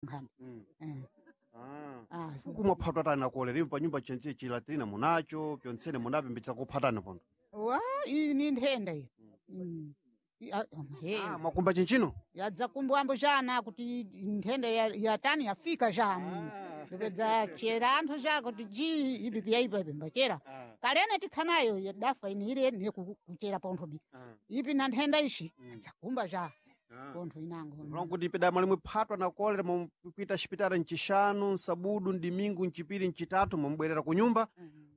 nkhani. Eh. Ah, Uku mwaphatwa tani na kolera imwe panyumba chenche chilatrina munacho pyontsene munapo mbitsa kuphatana pondo. Wa iyi ni nthenda iyo. He. Ah, mwakumba chinchino? Yadza kumbwambo jana kuti nthenda yatani yafika ja. Ndipedza chera anthu ja kuti ji ipi pyaipa ipi mbachera. Kalene tikhanayo yadafa ini ile ne kuchera pontho bi. Ipi na nthenda ishi adzakumba ja pontho inango. Mulongo kuti peda mwalimwe phatwa na kolera mukuita xipitala ncixanu, nsabudu, ndimingu, ncipiri, ncitatu, mwamubwerera ku nyumba,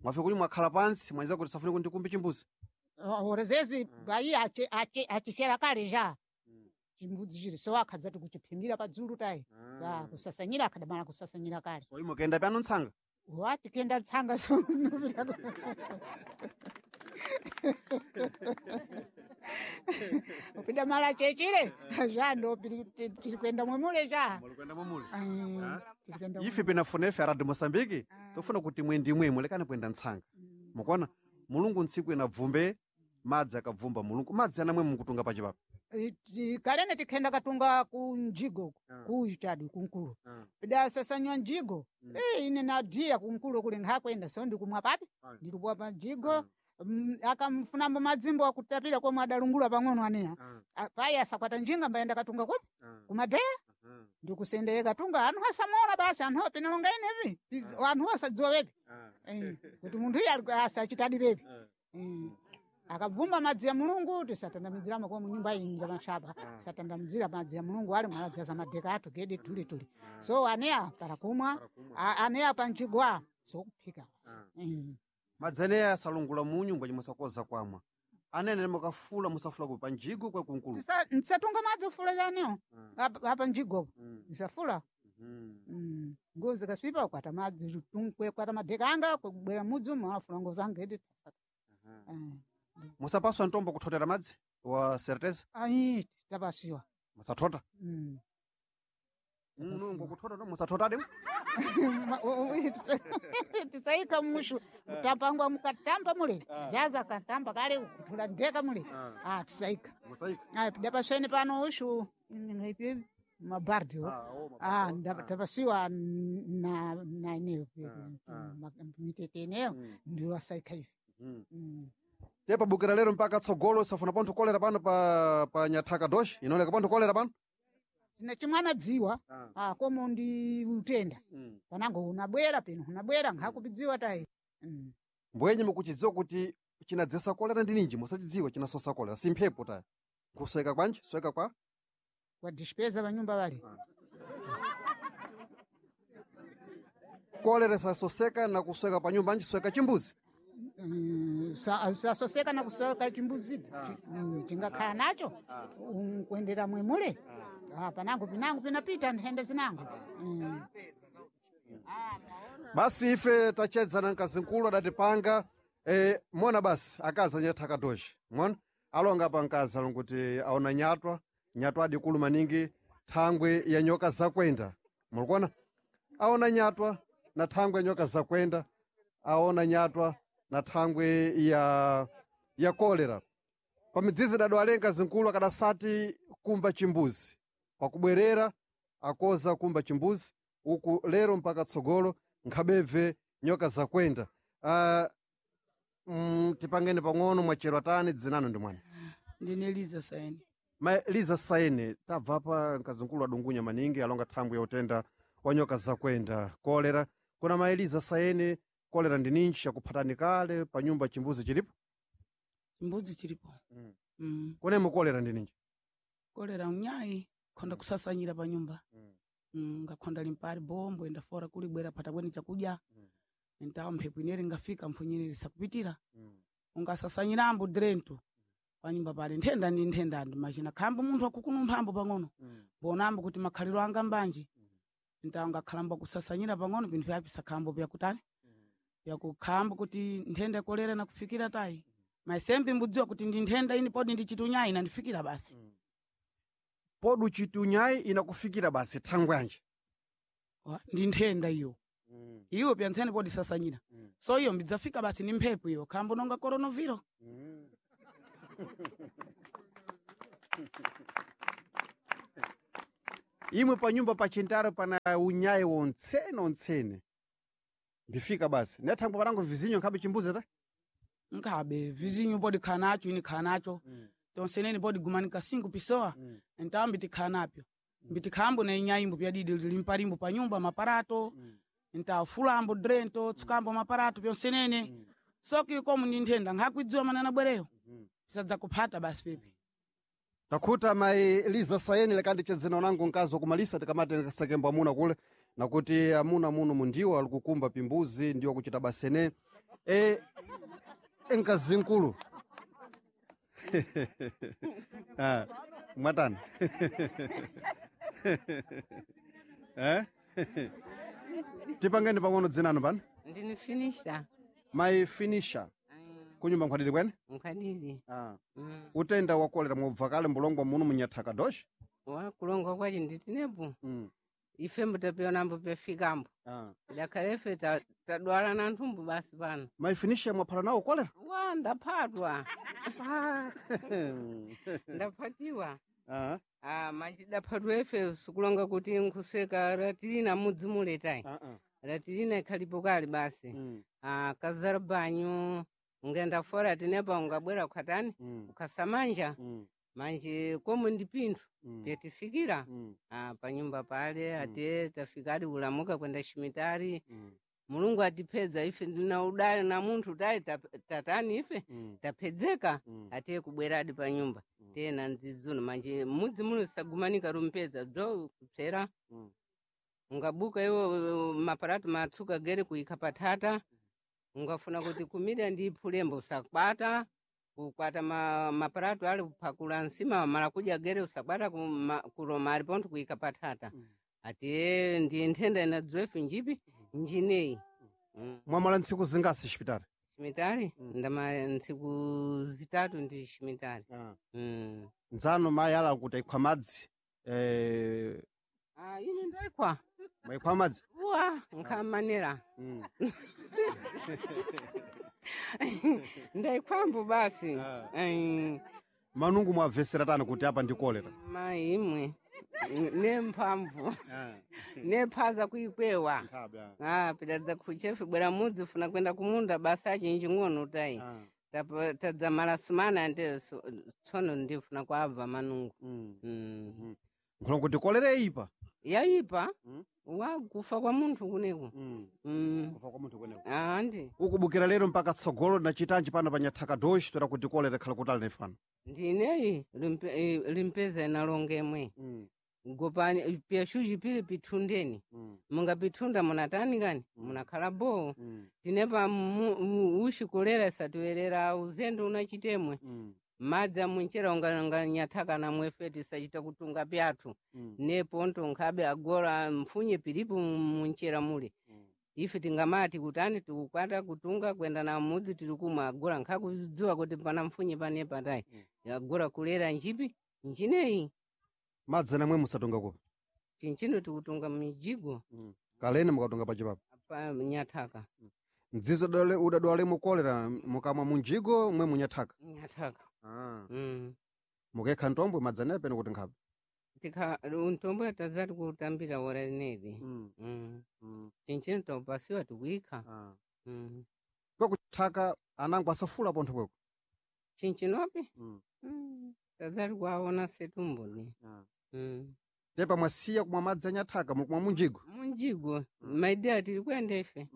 mwafika kuti mwakhala pansi, mwanza kuti safune kuti ndikumbe chimbuzi. Orezezi bayi achichera kale ja. Chimbudzi chiri so akhadzati kuchiphimbira padzulu tayi. Sa kusasanyira akhadamala kusasanyira kale. So imwe kuyenda pano ntsanga. Wa tikenda tsanga so nopita upida mala chechile ja ndo tiri kuenda mwemule ja. Mwalikwenda mwamuli. Tiri kuenda. Ife pinafuna ife aradi Moçambique, tofuna kuti mwendimwe mulekane kuyenda ntsanga. Mukuona? Mulungu ntsiku ina bvumbe, madzi akabvumba mulungu. Madzi anamwe mukutunga pachipapa. Kalene tikhenda katunga ku njigo ku chadi kunkulu. Pida sasanywa njigo. Ine nadiya kunkulu kule nkhakwenda so ndikumwa papi ndilikuwa pa njigo. Akamfunambo madzimbo akutapira komwe adalungula pang'ono aneya. Payi asakwata njinga mbayenda katunga kupi kumadeya ndikusendeye katunga anthu asamona basi anthu apinalonga inevi anthu asadziwa wepi. Kuti munthu iye asachitadi pepi. Akabvumba madzi ya mulungu tisatandamidziramo kwa munyumba iyi njamashaba satandamidzira madzi ya mulungu ali mwaladzaza madeka athu gedi tulituli so aneya para kumwa aneya panjigwa sokuphika basi. Madzi aneya asalungula munyu ngwaci musakoza kwamwa. Anene mukafula musafula ku panjigo kwa kunkulu. Ntisatunga madzi ufulira anewo apa njigopo nsafula. Ngozi kasvipa kwata madzi kwata madeka anga kubwera mudzi umo afula ngozi anga edi. Musapaswa ntombo kuthotera madzi wa certeza Ayi tapasiwa. musathota. Mulungu kuthota no musathotadi. Tisaika mushu mutapangwa mukatamba mule zaza katamba kale kuthula ndeka mule ah tisaika. Musaika. Ayi pida pasweni pano ushu ngaipi mabardi ah tapasiwa na ineyo mitete ineyo ndiwo asaika ivi. Tepa bukira lero mpaka tsogolo safuna pontho kolera pano pa nyathaka doshi inaoneka pontho kolera pano. Tina chimwana dziwa ah komo ndi utenda panango unabwera pino unabwera nkhakupidziwa tayi. Mbwenye mukuchidziwa kuti chinadzesa kolera ndi ninji musachidziwa chinasosa kolera si mphepo taya. Nkusweka kwanji sweka kwa Kwa dispeza panyumba pale. Kolera sasoseka na kusweka pa nyumba anji sweka chimbuzi. Sasoseka na kusweka chimbuzi chingakhala nacho kuendera mwemule panango pinango pinapita nthenda zinango. Basi ife tachedzana mkazinkulu adatipanga mona basi akazi anyathaka doshi mona alonga pa mkazi alonguti aona nyatwa nyatwa adikulu maningi thangwe ya nyoka zakwenda mulikuona aona nyatwa na thangwe ya nyoka zakwenda aona nyatwa na thangwe ya kolera pamidzizi dadwale mkazinkulu akadasati kumba chimbuzi pakubwerera akoza kumba chimbuzi uku lero mpaka tsogolo nkhabebve nyoka zakwenda. Tipangeni pang'ono mwachero tani dzinano ndi mwana. Ndine Liza Saini. Ma Liza Saini tabva pa mkazinkulu adungunya maningi alonga thangwi ya utenda wa nyoka zakwenda kolera. Kuna ma Eliza Saini kolera ndi ninji yakuphatani kale pa nyumba chimbuzi chilipo? Chimbuzi chilipo. Kunemo kolera ndi ninji? Kolera unyayi khonda kusasanyira pa nyumba. Ngakhonda limpali bombo enda fora kulibwera phata bweni chakudya. Ntawa mphepo ineri ngafika mphunyineri sakupitira. Ungasasanyirambo drento pa nyumba pale nthenda ndi nthenda ndi machina khambo munthu akukunumphambo pang'ono. Mbonambo kuti makhaliro anga mbanji. Ntawa ngakhalamba kusasanyira pang'ono pinthu vyapi sakhambo vyakutani. Vyakukhambo kuti nthenda kolera nakufikira tayi. Maisembi mbudziwa kuti ndi nthenda ini podi ndi chitunyayi inandifikira basi. Podi uchitunyayi inakufikira basi thangwe yanji. Ndi nthenda iyo. Iwo pyantsene podi sasanyira. So iyo mbidzafika basi ni mphepo iyo khambo nonga coronavirus. Imwe panyumba pachintaro pana unyayi wontsene ontsene. Mbifika basi. Nethangwa panango vizinyo nkhabe chimbuzi ta? Nkhabe vizinyo podi khala nacho ini khala nacho tonseneni podi gumanika singu pisowa ntawo mbitikhala napyo mbitikhambo na inyayimbo pyadidi limpalimbo pa nyumba maparato ntawo fulambo drento tsukambo maparato pyonsenene soki komu ndi nthenda nkhakuidziwa manana bwereyo pisadza kuphata basi pepi. Takhuta mai Liza Sayeni lekandichedzena unango mkazi wakumalisa tikamati kasakembo amuna kule nakuti amuna muno mundiwo ali kukumba pimbuzi ndiwo kuchita basene e enkazi nkulu. Ah, mwatani. Eh? Tipangeni pang'ono dzinano pano. Ndini finisha. Mai finisha kunyumba nkhwadidi kwene. Nkhwadidi. Ah. Utenda wa kolera mwabva kale mbulongwa muno munyathaka doshi. Wa kulongwa kwachi nditinepo. Ife mbutapionambo pefikambo. Ah. Dakhale ife tadwala na nthumbu basi pano. Mai finisha mwaphala nawo kolera? Wa ndaphatwa. Ndaphatiwa. Ah. Ah, manji daphatwa ife sikulonga kuti nkhuseka ratilina mudzi muletayi. Ratilina ikhalipo kale basi. Ah, kazara banyu ungenda fora tinepa ungabwera ukhatani ukhasamanja. Manje komo ndi pinthu pyatifikira ah, panyumba pale ate tafika adi kulamuka kwenda shimitari. Mulungu atipedza ife ndina udali na munthu tayi tatani ife tapedzeka atiye kubwera adi panyumba tena ndzidzuno manje mudzi muno sagumanika rumpedza bzo kupsera ungabuka iwo maparatu matsuka gere kuikha patata ungafuna kuti kumira ndi phulembo usakwata kukwata maparatu ali kuphakula nsima mala kudya gere usakwata kuloma ali pontho kuika patata atiye ndi nthenda inadzoefe njipi njineyi. Mwamala ntsiku zingasi xipitali? Shimitali ndama ntsiku zitatu ndi shimitali. Nzano mayi ala kuti aikhwa madzi. Ah, ine ndaikhwa. Maikhwa madzi? Wa nkhamanera. Ndaikhwambo basi. Manungu mwabvesera tani kuti apa ndi kolera? Mayi imwe nemphamvu nephaza kuikwewa. Ah, pidadza kuchefe bwera mudzi funa kwenda kumunda basa achinji ng'ono tayi. Tadzamala sumana ande tsono ndifuna kwabva manungu. Nkhulongo kuti kolera ipa? Yaipa. Wa kufa kwa munthu kuneko. Kufa kwa munthu kuneko. Andi. Ukubukira lero mpaka tsogolo na chitanji pano pa nyathaka doshi toera kuti kolera ikhala kutali nefe pano. Ndineyi limpeza inalongemwe. Gopani pyashuji pili pithundeni. Mungapithunda munatani kani? Munakhala bowo. Tinepa ushi kolera isatiwerera uzendo unachitemwe. Madzi amunchera unganyathaka namwe tisachita kutunga pyathu. Neponto nkhabe agora mfunye pilipo munchera mule. Ife tingamati kutani tikukwata kutunga kwenda na mudzi tiri kumwe agora nkhakudziwa kuti pana mfunye panepa tayi. Agora kulera njipi njineyi. Madzi namwe musatunga kupi? Chinchino tikutunga mijigo. Kalene mukatunga pachipapa? Pa nyathaka. Mdzidzo udadwalemo kolera mukamwa munjigo mwe munyathaka? Nyathaka. Mukekha ntombwe madzi anepe kuti nkhabe? Tika untombo tazati kutambira ora linedi. Chinchino topasiwa tikuikha. Kwekuthaka anango asafula pontho kweko? Chinchinopi? Tazati kuaona setumboni. Tepa mwasiya kumwa madzi anyathaka mukumwa munjigo? Munjigo. Maidea tiri kuenda ife.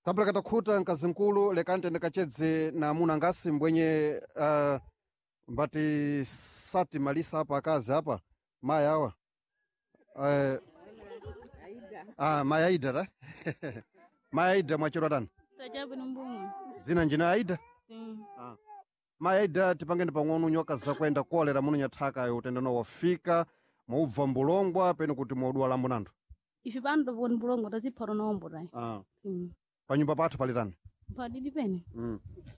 Kabla katakhuta mkazi mkulu lekani tende kachedze na amuna ngasi mbwenye mbati sati malisa apa akazi apa mayi awa mayi Aida ta. Mayi Aida mwachedwa tani? Tachabu ni mbumwe. Dzina njina Aida? Sim. Mayi Aida tipangeni pang'ono nyoka zakuenda kolera muno nyathaka utenda no wafika mwaubva mbulongwa pene kuti mwaudwala munanthu. Ife pano toponi mbulongo taziphata nombo tayi. Sim. Panyumba pathu pali tani? Padidi pene.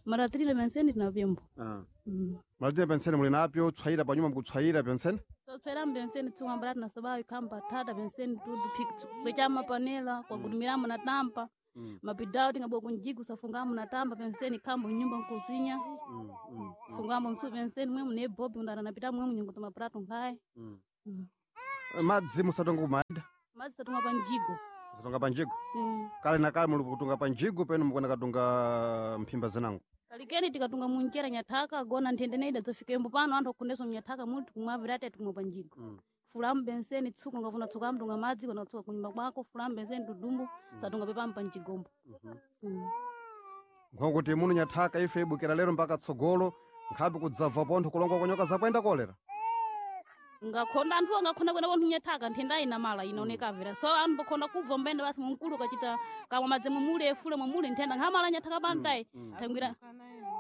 Maratirire penseni tinapembo. Malatire penseni muli napyo tswayira panyumba mukutswayira penseni? Totswera penseni tsumwambala tinasabayo khamba thata penseni tudu kwechama panela kwagudumiramo na tampa. Mapidao tingabwa kunjiku safungamo na tamba penseni khambo nyumba nkuzinya. Fungamo nsu penseni mwe mune bobi undaranapita mwe munyungu tomaprato nkhaye. Madzi musatonga kumaida? Madzi tatunga pa mjigo. Musatonga pa njigo? Si. Kale na kale muli kutunga pa njigo penu mukwenda katunga mphimba zinango. Kalikeni tikatunga munjera nyathaka gona nthende neida zafikembo pano anthu akundeso mnyathaka muli tikumwavira ati tikumwa pa njigo. Fulamu benseni tsuka ngafuna tsuka amtunga madzi kana tsuka kunyumba kwako fulamu benseni tudumbu satunga pepampa mjigombo. Nkokuti muno nyathaka ife ibukira lero mpaka tsogolo nkhapi kudzabva pontho kulongwa kwa nyoka zakwenda kolera. Ngakhonda anthu angakhonda kwenda pontho nyathaka nthenda inamala inaoneka avira so anthu pakhonda kubva mbende basi mumkulu ukachita kamwa madzi mumule fule mumule nthenda nkhamala nyathaka pantayi thangwira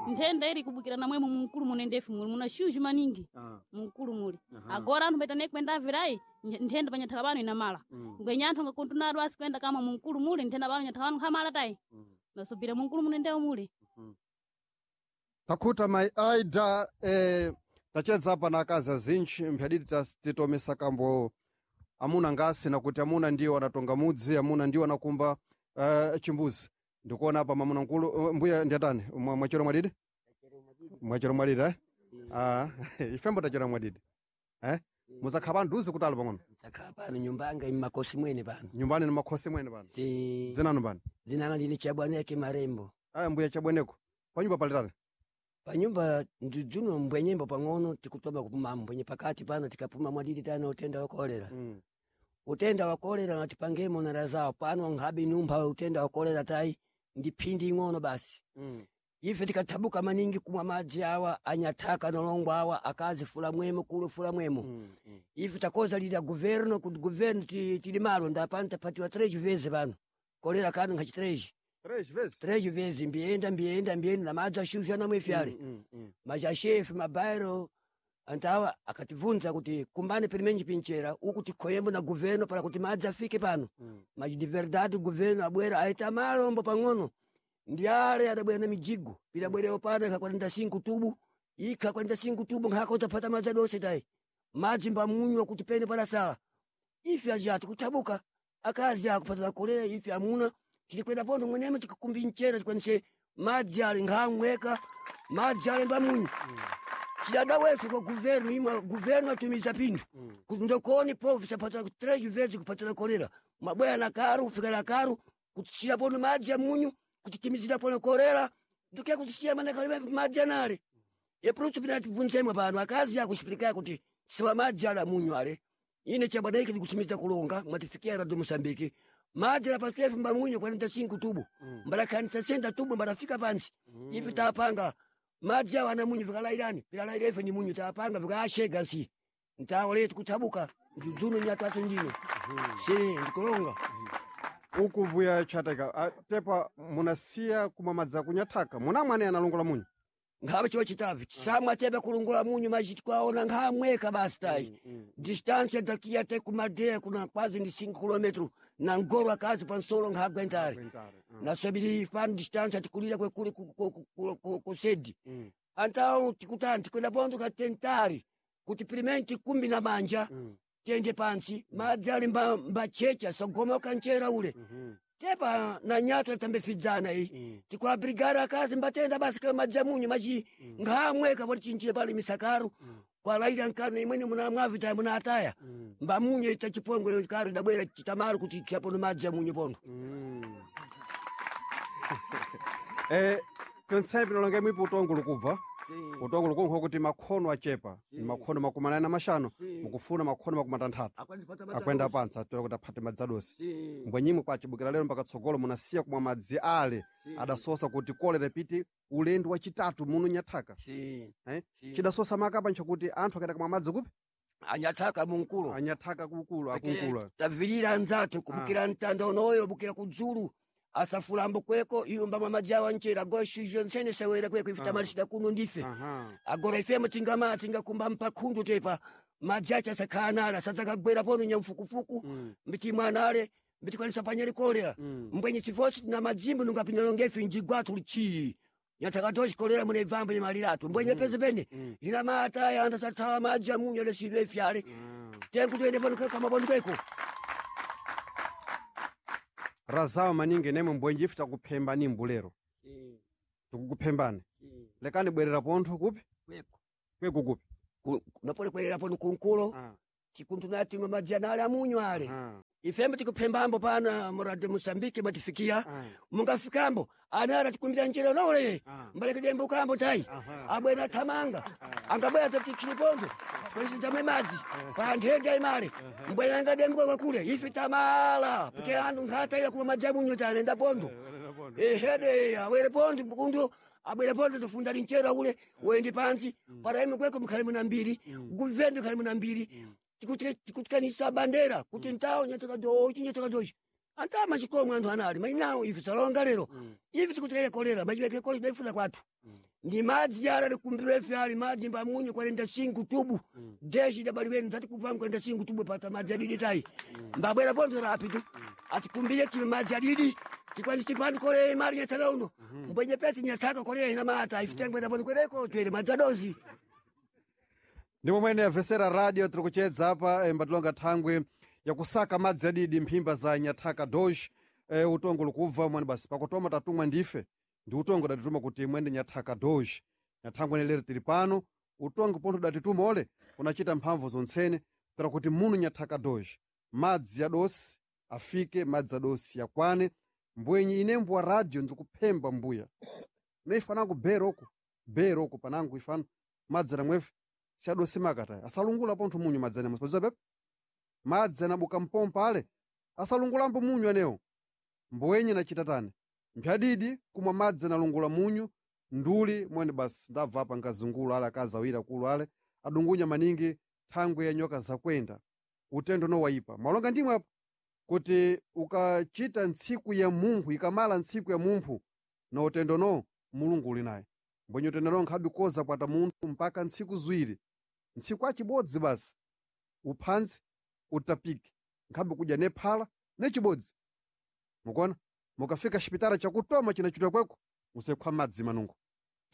nthenda iri kubukira namwemo mumkulu munendefu muli muna shuju maningi mumkulu muli agora anthu mbaita nekwenda avirayi nthenda panyathaka pano inamala ngwenya anthu angakontunado asi kwenda kama mumkulu muli nthenda pano nyathaka pano nkhamala tayi nasubira mumkulu munendewo muli. Takhuta mai Aida tachedza apa na akazi azinji mphadidi titomesa kambo amuna ngasi nakuti amuna ndiwo anatonga mudzi amuna ndiwo anakumba chimbuzi. Ndikuona apa mamuna nkulu mbuya ndiatani mwachero mwadidi? Mwachero mwadidi eh? Ah, ifembo tachera mwadidi eh? Muzakhala pano duzi kutali pang'ono? Muzakhala pano nyumba yanga immakosi mwene pano. Nyumbani ni makhosi mwene pano? Si. Zinanu pano? Zinanga ndine Chabwaneke Marembo. Aya mbuya Chabwaneko panyumba palitani? Panyumba ndidzuno mbwenyembo pang'ono tikutoma kupuma mbwenye pakati pano tikapuma mwadidi tano utenda wa kolera. Utenda wa kolera natipangemo na razawo pano nkhabe numpha utenda wa kolera tayi ndi phindi ing'ono basi. Ife tikathabuka maningi kumwa madzi awa anyathaka nolongwa awa akazi fula mwemo kulo fula mwemo. Ife takoza lila governo kuti governo tili malo ndapano tapatiwa 3 vezes pano. Kolera kano nkhachi 3. 3 vezes? 3 vezes mbiyenda mbiyenda mbiyenda na madzi ashusha namwe ife ale. Majashefe mabairo antawa akatibvunza kuti kumbane pilimenji pinchera uku tikhoyembo na governo para kuti madzi afike pano. Mas de verdade governo abwera aita malombo pang'ono. Ndi ale adabwera na mijigo pidabwerewo pano ikha 45 tubu ikha 45 tubu nkhaka utapata madzi adonse tayi madzi mbamunywa kuti pene padasala ife aja tikuthabuka akazi akupatala kolera ife amuna tilikwenda pontho mwenemo tikakumbi mchera tikwanise madzi ale nkhamweka madzi ale mbamunyu cidada wefe kwa governo imwe governo atumiza pinthu kuti ndokoni povo sapatala 3 vezes kupatala kolera mabwera na karu kufika na karu kutisira pono madzi amunyu kutitimizira pono kolera ndikuya kutisiya mana madzi anale epulutu pinatibvunzemwe pano akazi akuxipilikayo kuti siwa madzi ale amunyu ale ine chabwanaiki ndikutimiza kulonga mwatifikia radio Mosambiki madzi ala paswefe mbamunyu 45 tubu mbalakhanisa 60 tubu mbalafika pansi ife tapanga madzi awo ana munyu vikalairani vilalaira ife ni munyu tapanga vikaashega nsi ntawo letu kuthabuka ndidzuno nyatatu ndino si ndikulonga. Uku mbuya Chateka tepa munasiya kumwa madzi akunyathaka munamwani analongola munyu? Nkhabe chiwo chitavi samwa tepa kulongola munyu maji tikaona nkhamweka basi tayi distância daqui até kumadeya kuna quase ndi 5 km na ngoro akazi pansolo nkhagwentare naswebili pano distância tikulira kwekuli kusedi antawo tikutani tikwenda pondo katentari kuti pilimenti kumbi na manja tiyende pansi madzi ali mbachecha sagomoka nchera ule tepa na nyato tambefidzana iyi tikuabrigara akazi mbatenda basi kama madzi amunyu machi nkhamweka poti chinchile pali misakaru kwalaira nkano imweni muna mwavita muna ataya mbamunyu ita chipongwe karu dabwera chitamaro kuti chapono madzi amunyu pondo. Tonsepi nalonge mwipo utongo lukubva utongo lukunkho kuti makhono achepa ni makhono 45 mukufuna makhono 60 akwenda pansi atoera kuti aphate madzi adosi mbwenyimwe kwachibukira lero mpaka tsogolo munasiya kumwa madzi ale adasosa kuti kolera piti ulendo wachitatu muno nyathaka. Chidasosa makapa nchakuti anthu akaenda kumwa madzi kupi? Anyathaka munkulu. Anyathaka kukulu akunkulu. Tavilira anzathu kubukira mtanda unoyo bukira kudzulu asafulambo kweko iyo mbamwa madzi awa nchera agora shizho nsene sawera kweko ife tamalisida kuno ndife agora ifemo tingama tingakumba mpakhundu tepa madzi acha asakhala nale asadzakagwera pono nyamfukufuku mbiti mwanale mbitikwanisa panyali kolera mbwenye chifosi tina madzimbu nungapinalongefe njigwathu lichii nyathakatochi kolera mune ivambo imaliratu mbwenye pese pene ina mataya andasathawa madzi amunyu alesidwe ifyale tenkutoende pano kama pano kweko Razawo maningi nemwe mbwenji ife takuphembani mbulero tikukuphembani lekani bwerera pontho kupi? Kweko kupi? Napole kwerera pono kunkulo. Tikuntu timwe madzi anale amunyu ale. Ifembe tikuphembambo pana muradi Mosambike matifikia. Mungafikambo anara tikumbira njira nole. Mbaleke dembo kambo tai. Abwena thamanga. Angabwera tatichilipondo. Kwesi tamwe madzi. Pa nthenda imale. Mbwena ngadembo kwa kule. Ife tamala. Pike antu nkhata ila kuma madzi amunyu tanenda pondo. Ehede awere pondo kundu abwera pondo tofunda linchera ule wendi pansi para ime kweko mkhale muna mbiri guvendo khale muna mbiri tikutikanisa bandera kuti ntawo nyataka dochi nyataka dochi antama chikomwe anthu anali mainawo ife salonga lero ife tikutikaya kolera machipeke kolera daifuna kwathu ndi madzi ala likumbirwe ife ali madzi mbamunyu kwalenda singu tubu deshi dabaliweni zati kuvamu kwalenda singu tubu pata madzi adidi tayi mbabwera pondo rapidu atikumbire time madzi adidi tikwanisi pano kolera imali nyathaka uno mbwenye pesi nyathaka kolera ina mata ife tengwenda pondo kwereko twere madzi adozi. Ndimo mwene avesera radio tiri kuchedza apa mbatilonga thangwe yakusaka madzi adidi mphimba za nyathaka dosh utongo likubva mwani basi pakutoma tatumwa ndife ndi utongo datituma kuti mwende nyathaka dosh nyathangwe nelero tili pano utongo pontho datituma ole unachita mphamvu zontsene tira kuti munu nyathaka dosh madzi adosi afike madzi adosi yakwane mbwenyi ine mbuwa radio ndikuphemba mbuya neife panangu beroko beroko panangu ifano madzi anamwefe siadosi makataya asalungula pontho munyu madzi anemwe sipadziwa pepe madzi anabuka mpompa ale asalungulambo munyu anewo mbwenye nachita tani mphyadidi kumwa madzi analungula munyu nduli mwene basi ndabva apa nkazungulu ale akazawira kulu ale adungunya maningi thangwe ya nyoka zakwenda utendo nowayipa mwalonga ndimwe apa kuti ukachita ntsiku ya munthu ikamala ntsiku ya munthu na utendo no mulungu uli naye mbwenye utendo no nkhabe koza kwata munthu mpaka ntsiku ziwiri ntsiku achibodzi basi uphanzi utapike nkhabe kudya nephala nechibodzi mukuona mukafika xipitala chakutoma chinachitwa kweko musekhwa madzi manungo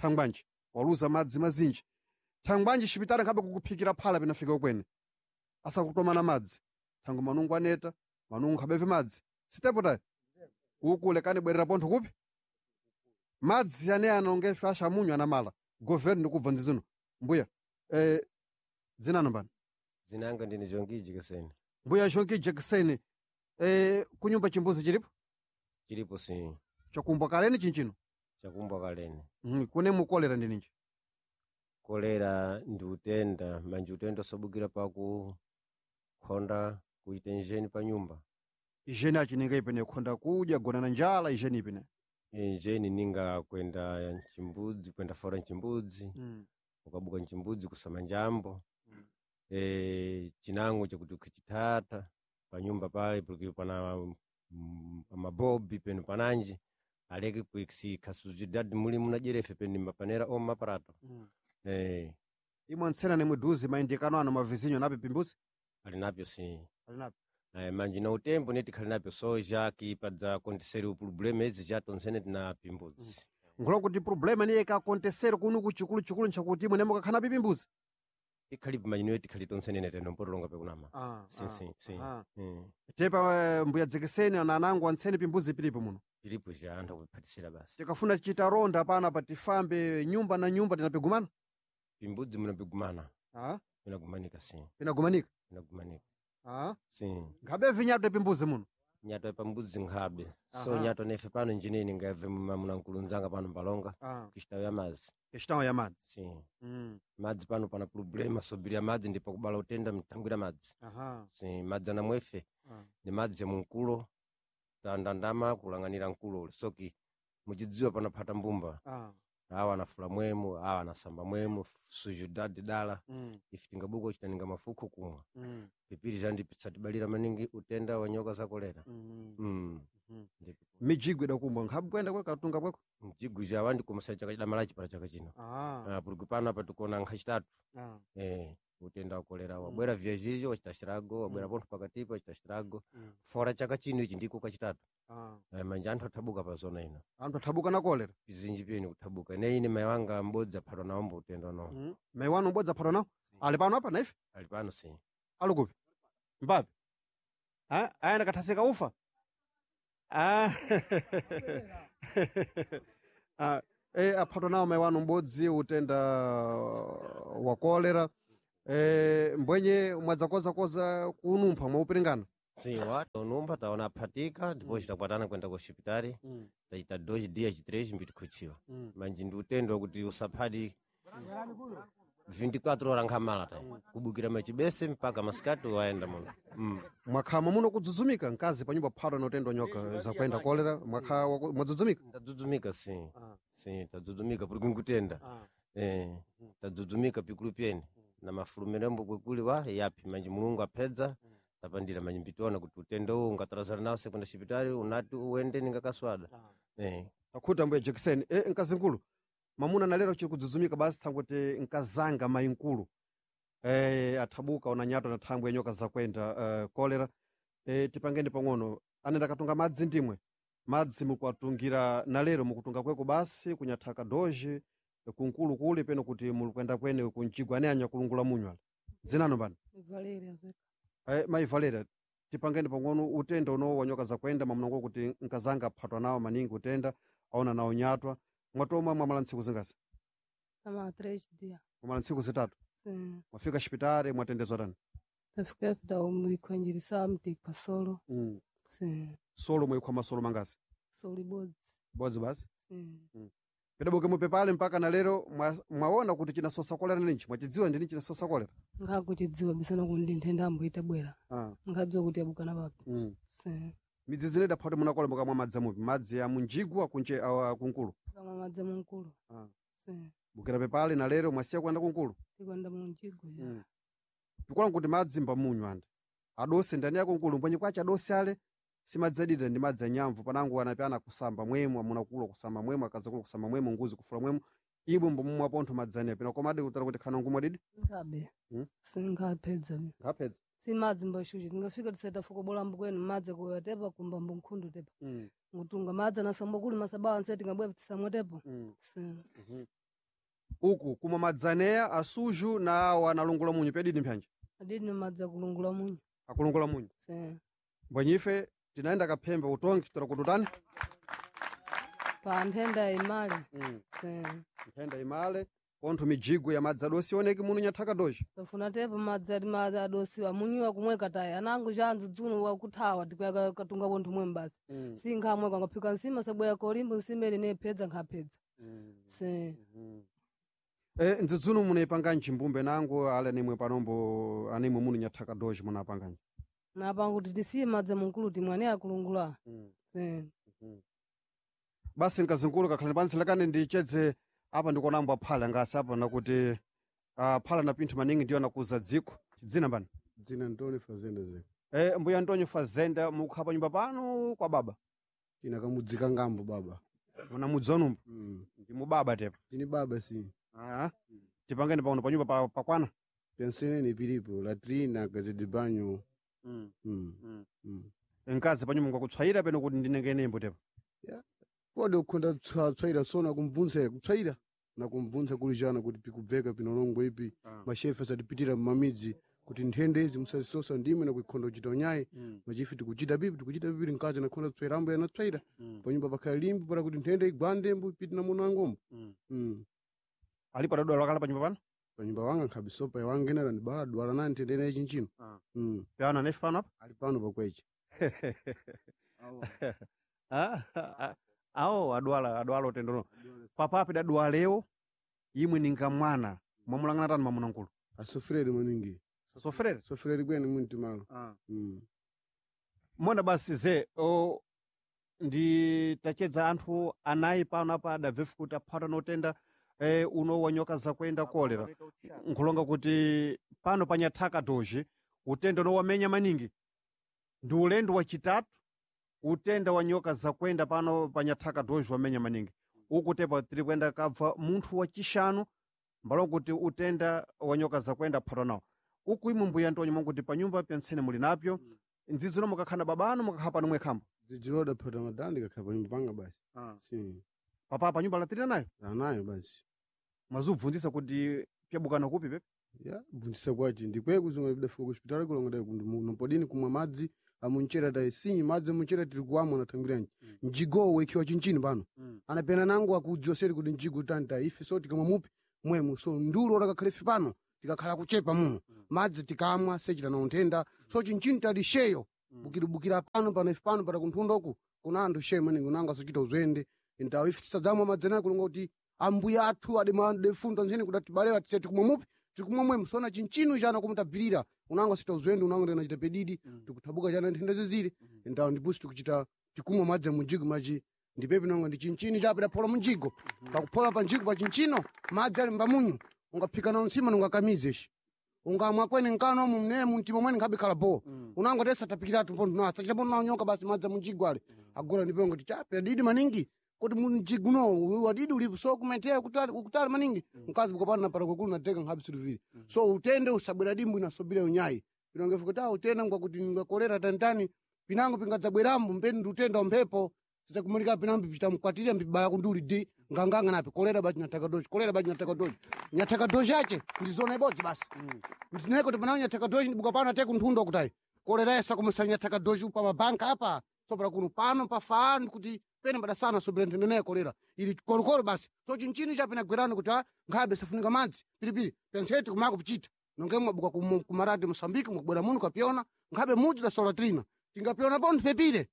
thangwanji waluza madzi mazinji thangwanji xipitala nkhabe kukuphikira phala pinafika kwene asakutomana madzi thango manungo aneta manungo nkhabeve madzi sitepo tayi uku lekani bwerera pontho kupi madzi ane analongefe ashamunyu anamala governo ndikubva ndizino mbuya dzinano mbani Zinanga ndine Jongi Jekeseni. mbuya Jongi Jekeseni kunyumba chimbuzi chilipo Chilipo si chakumbwa kaleni chinchino chakumbwa kaleni. Kune mukolera ndininji Kolera ndi utenda manje utenda osabukira paku khonda kuita njeni pa nyumba. ijeni achininga ipene khonda kudya gona na njala ijeni ipene Njeni ninga kwenda nchimbudzi kwenda fora nchimbudzi ukabuka nchimbudzi kusama njambo. Chinango chakuti ukichithatha pa nyumba pale porque pana mabobi peno pananji aleke kuikhasuzidadi muli munajerefe peni mapanera oma maparato. Imwe ntsena nemwe duzi maindikano ano mavizinyo napi pimbuzi Ali napyo si alinapi manje na utembo neti khali napyo soja kipadza konteseri upulobulema idzi chatonzene tina pimbudzi. Nkhulo kuti problema niye ikakontesere kunu kuchikulu chikulu nchakuti imwe nemwe kakhana pi pimbuzi Ikhalipo manje niyo tikhali tonsenene teno mpotolonga pekunama. Si si si. Tepa mbuya Jekeseni ana anangu antseni pimbuzi pilipo muno Pilipo ja anthu akuphatisira basi. Tikafuna tichita ronda pana pa tifambe nyumba na nyumba tinapigumana Pimbudzi munapigumana. Pinagumanika si. Pinagumanika. Pinagumanika. Si. Nkhabe vinyato pimbuzi muno Nyato pambudzi nkhabe. So nyato nefe pano njinini ngabve munankulunzanga pano mbalonga. Kishitawo ya madzi. Kishitawo ya madzi. Si. Madzi pano pana problema sobirira madzi ndipo kubala utenda mtangwira madzi. Si madzi anamwefe ni madzi ya munkulo tandandama kulang'anira nkulo ule soki muchidziwa panaphata mbumba. Awa anafula mwemu awa anasamba mwemu sujudadi dala. Ife tingabuka uchitaninga mafuko kumwa. Pipiri zandipitsatibalira maningi utenda wa nyoka za kolera. Mijigo idakumbwa nkhabe kwenda kweka katunga kweko Mjigo jawa ndikumasaya chaka chidamalachi para chaka chino. Puliki pano apa tikuona nkhachitatu. Utenda wa kolera wabwera vyazhizho wachita xirago wabwera pontho pakatipa wachita xirago fora chaka chino ichi ndiko kachitatu. Manje anthu athabuka pa zona ino. Anthu athabuka na kolera Pizinji piyeni kuthabuka ine ine mayi wanga m'bodzi aphatwa nawo mbo utenda unowo. Mayi wanu m'bodzi aphatwa nawo ali pano apa naife Ali pano si. Ali kupi mbapi ayenda kathasika ufa aphatwa nawo mayi wanu m'bodzi utenda wa kolera. Mbwenye mwadzakozakoza kunumpha mwaupiringana. Sim, tonumba taona aphatika depois takwatana kwenda ku hospitali tachita 2 dias 3 mbitikhuchiwa manji ndi utendo wakuti usaphadi 24 horas nkhamala ta kubukira machibese mpaka masikati waenda muno. Mwakhama muno kudzudzumika mkazi panyumba phatwa na utendo wa nyoka zakwenda kolera mwakha mwadzudzumika. Tadzudzumika sim, sim, tadzudzumika puri kungutenda. Tadzudzumika pikulu pyene na mafulumirembo kwekuli wa yapi manji Mulungu apedza tapandira manji mbitiona kuti utendo uwu ungatalazana nawo sekwenda xipitali unati uwende ningakaswada. Akhuta mbuya jekiseni. Mkazi nkulu mamuna nalero chiri kudzudzumika basi thanguti nkazanga mayi nkulu athabuka ona nyato na thangwe ya nyoka zakwenda kolera. Tipangeni pang'ono anenda katunga madzi ndimwe madzi mukuwatungira nalero mukutunga kweko basi kunyathaka doji kunkulu kuli peno kuti mulikwenda kwene kunjigwa ane anya kulungula munywa dzinano mbani? Valeria Zeka. Mayi Valeria, tipangeni pang'ono utenda uno wa nyoka zakwenda mwamnango kuti nkazanga aphatwa nawo maningi utenda aona nawo nyatwa mwatomwa mwamala ntsiku zingasi? Kama 3 dia. Mwamala ntsiku zitatu. Sim. Mwafika xipitali mwatendezwa tani? Tafika da umlikonjirisa mtikwa solo. Sim. Solo mwikhwa masolo mangasi? Solo bodzi. Bodzi basi. Sim. Pidabuke mupepale mpaka na lero mwaona kuti chinasosa kolera ninji mwachidziwa ndini chinasosa kolera? Ngakuchidziwa bisana kundi nthenda amboita bwera. Ngadziwa kuti abukana papi. Sim. Midzi zine daphati munakola mukamwa madzi amupi madzi a munjigwa kunje awa kunkulu? Kama madzi munkulu. Sim. Bukira pepale na lero mwasiya kuyenda kunkulu? Tikwenda munjigwa ya. Pikola kuti madzi mbamunywa ande adose ndani yako nkulu mbwenye kwache adose ale si madzi adida ndi madzi anyamvu panango anapyana kusamba mwemu amuna kulo kusamba mwemu akazakulu kusamba mwemu nguzi kufula mwemu ibwe mbomumwa pontho madzi anepo pino komadi kutara kuti khana ngumwa didi. Ngabe. Singaphedza. Ngaphedza. Si madzi mbashuchi tingafika tiseta fuko bola mbukweni madzi kuya tepa kumba mbunkhundu tepa. Ngutunga madzi anasamba kuli masabawa nse tingabwe tisamwe tepo. Sim. Uku kumwa madzi aneya asuju na awo analungula munyu pedidi mphyanja? Adidi ni madzi akulungula munyu. Akulungula munyu. Sim. Mbwenye tinaenda kaphembe utongi tora kututani? Pa nthenda imale. Sim. Nthenda imale pontho mijigo ya madzi adosi ioneke muno nyathaka doji. Tafuna tepo madzi ati madzi adosiwa munyiwa kumweka tayi anango chanzu dzuno wakuthawa tikwaya katunga pontho mwemu basi. Sinkhamweka ngaphika nsima sabwera kolimbo nsima ili nephedza nkhapedza. Sim. Ndzidzuno munayipanganji mbumbe nango ale nimwe panombo animwe muno nyathaka doji munapanganji? Napanga kuti tisiye madzi munkulu timwe akulungula. Sim. Basi mkazinkulu kakhalani pansi lekani ndichedze apa ndikuonambo aphala ngasi apa nakuti phala na pinthu maningi ndiyo nakuza dziko. Dzina mbani? Dzina Antonio Fazenda Zeka. Mbuya Antonio Fazenda mukukhala pa nyumba pano kwa baba? Ina kamudzika ngambo baba. Muna mudzi wanumba? Ndi mubaba tepo? Ndini baba si. Tipangeni pano pa nyumba pakwana? Penseneni pilipo latrina casa de banho. Mkazi pa nyumba ngwakutswayira peno kuti ndinengenembo tepo? Yeah. Kodi ukhonda tswaira so nakumvunsa kutswaira nakumvunsa kulijana kuti pikubveka pinolongwe ipi. Mashefe asatipitira mmamidzi kuti nthenda izi musazisosa ndimwe nakuikhonda kuchita unyayi. Machifi tikuchita pipi tikuchita pipi mkazi nakhonda kutswaira ambo yanatswaira. Panyumba pakhala limbo para kuti nthenda igwande mbo ipite na muno angombo. Alipo adadwala wakala panyumba pano? Panyumba wanga nkhabe sopa wanga ena ndibala dwala na nthenda ina ichinchino. Pano anefi pano apa? Ali pano pakweche. Awo adwala utendono. Papapi dadwalewo imwe ninga mwana mwamulangana tani mwamuna nkulu? Asofrere maningi. Sofrere? Sofrere kwene mwinti malo. Mona basi ze ndi tachedza anthu anayi pano apa adabvefu kuti aphata notenda uno wa nyoka zakwenda kolera. Nkhulonga kuti pano pa nyathaka doji utenda uno wamenya maningi ndi ulendo wachitatu utenda wa nyoka zakwenda pano pa nyathaka doji wamenya maningi. Uku tepo tiri kuyenda kabva munthu wachishanu mbalo kuti utenda wa nyoka zakwenda aphatwa nawo. Uku imwe mbuya Antonio mwakuti pa nyumba pyantsene muli napyo ndzidzino mukakhala babano mukakhala pano mwekhambo? Dzidziloda phata madandi kakhala pa nyumba panga basi. Sim. Papa pa nyumba latirira nayo? Anayo basi. Mwazubvunzisa kuti pyabukana kupi pepe? Ya, bvunzisa kwachi ndikweku zimwe bidafika ku hospitali kulonga dai nopodini kumwa madzi amunchera dai sinyi madzi amunchera tiri kuamwa nathangiranji. Mjigowo wekiwa chinchini pano. Anapena nangu akudziwa seri kuti mjigo tani dai ife so tikamwa mupi mwemu so ndulo lakakhale ife pano Tikakhala kuchepa muno madzi tikamwa sechita na nthenda. So chinchini tali sheyo bukiribukira pano pano ife pano pata kunthundoku kuna anthu sheyo maningi unanga sochita uzwende ntawo ife tisadzamwa madzi anayo kulonga kuti ambuya athu adefunda nzene kuti atibalewa tise tikumwa mupi tikumwa mwemu sona chinchinu chana komwe tabvirira unanga sita uzwende unanga ndinachita pedidi tikuthabuka chana nthenda ziziri ntawo ndipusi tikuchita tikumwa madzi munjigo machi ndipepi nonga ndi chinchini chape daphola munjigo pakuphola pa njigo pa chinchino madzi ali mbamunyu ungaphika na nsima nungakamize ishi ungamwa kwene nkano mu mne mumtima mwene nkhabikhala bo unango tesa tapikiratu mpontho na sachita pontho naonyoka basi madzi munjigo ale agora ndipo ngoti chape adidi maningi kuti munjigo no wadidi ulipo so kumetea kutali ukutali maningi mkazi bukapana para kwekulu nateka nkhabi siluviri so utende usabwera dimbu inasobira unyayi pinonge fukuti ah utenda ngwakuti ngakolera tantani pinango pingadzabwerambo mpeni ndi utenda wa mphepo sitakumulika pinambi pitamkwatira mbibaya kunduli di nganganga napi kolera bachi nyathaka doji kolera bachi nyathaka doji nyathaka doji ache ndizona ibodzi basi mzineko kuti panawo nyathaka doji ndibuka pano ate kunthundo kutayi kolera yesa kumusa nyathaka doji upa mabanka apa sopera kuno pano pafaani kuti pene padasana sobera nthenda naye kolera ili kolokolo basi so chinchini chapinagwerani kuti ah nkhabe safunika madzi pilipili pentseti kumako pichita nonge mwabuka kumarati mosambiki mwakubwera muno kapyona nkhabe mudzi la solatrina tingapyona pontho pepire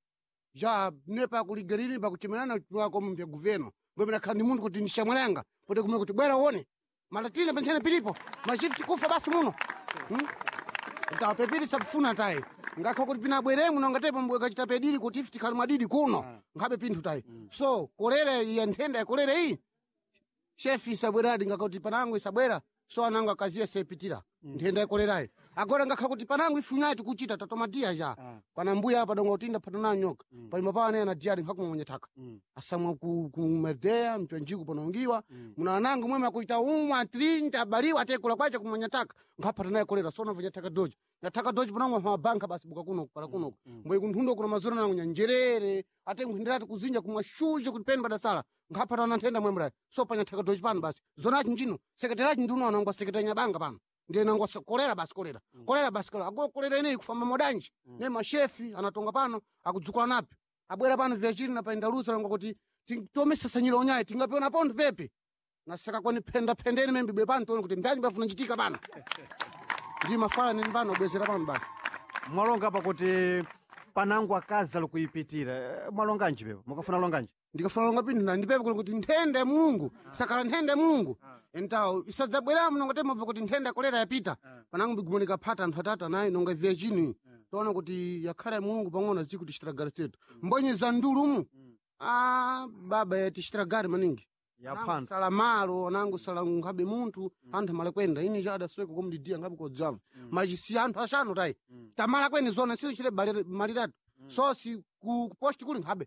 ja nepa kuligeriri pakuchemerana wako mpya guveno mbwe khandi munthu kuti ndishamwelanga pote kumwe kuti bwera uone malatina pentsene pilipo machifu tikufa basi muno Pepiri sakufuna tayi ngakha kuti pinabweremu nongatepo mbwe kachita pediri kuti ife tikhali mwadidi kuno nkhabe pinthu tayi so kolera ya nthenda ya kolera iyi shefi isabweradi ngakuti panango isabwera so anango akaziye sepitira nthenda ya kolerayi agora ngakha kuti panango ifunayi tikuchita tatomadiya ja pana mbuya apa donga utinda patona nyoka palima pawo ane anadiyadi nkhakumwa thaka asamwa kumedeya mpyanjiku panaungiwa muna anango mweme akuita umwa 30 abaliwa atekula kwacha kumwanya taka nkhapata naye kolera sona vunya taka doji nyathaka doji panango mabanka basi buka kuno para kuno mbwe kunthundo kuna mazura nango nyanjerere ate nkhuenderati kuzinja kumwa shushe kuti peni padasala nkhapata na nthenda mwembrayi so pa nyathaka doji pano basi zonachi njino sekretariachi ndiuno anangwa sekretari nyabanga pano ndiye nangwa kolera basi kolera kolera basi kolera agora kolera ineyi kufamba modanji ne mashefi anatonga pano akudzukula napi abwera pano vyachini na paindalusa langa kuti tomesasanyira unyayi tingapiona pontho pepe nasaka kwani phenda phendeni membibwe pano tione kuti mbanyi pafuna nchitika pano ndi mafala nini pano abwezera pano basi Mwalonga apa kuti panango akazi ali kuipitira. Mwalonganji pepo mukafuna longanji ndikafuna longa pinthu na ndipepe kuti nthenda ya mulungu sakala nthenda ya mulungu entawo isadzabweramo nonga temabva kuti nthenda ya kolera yapita panango mbigumanika phata anthu atatu anayi nonga vyachini toona kuti yakhala ya mulungu pang'ono aziku tichitiragari setu mbonye za ndulumu ah baba yatichitiragari maningi yaphanda sala malo anango sala nkhabe munthu anthu amala kwenda ini cha adasweka komdidiya nkhabe kodzava machisi anthu axanu tayi tamala kweni zona silichire maliratu so si ku posti kuli nkhabe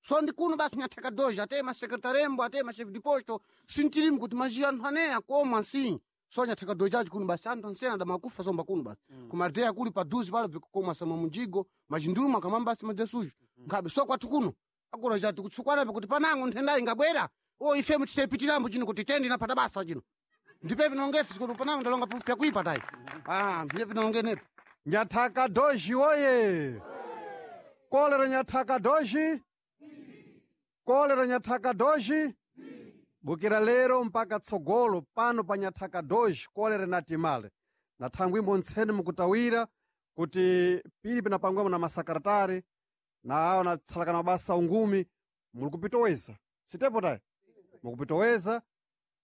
so ndi kuno basi nyathaka doja ate masekretarembo ate machef de posto sintilimu kuti maji anthu ane akoma nsi so nyathaka doja achi kuno basi anthu ansena adamakufa somba kuno basi kumadeya kuli paduzi pala bvikukoma samwa munjigo majinduluma akamamba basi madzesuju nkhabe so kwathu kuno agora chati kutsukwanapo kuti panango nthendayi ingabwera o ife mutisepitirambo chino kuti tendi napata basa chino ndipepi nongefe kuti panango ndalonga pyakuipa tayi ah ndipepi nongenepo nyathaka doji woye kolera nyathaka doji kolera nyathaka doji bukira lero mpaka tsogolo pano pa nyathaka doji kolera natimale na thangwi ntsene mukutawira kuti pili pinapangwamo na masakaratari na awo natsalakana mabasa ungumi muli kupitoweza sitepo tayi mukupitoweza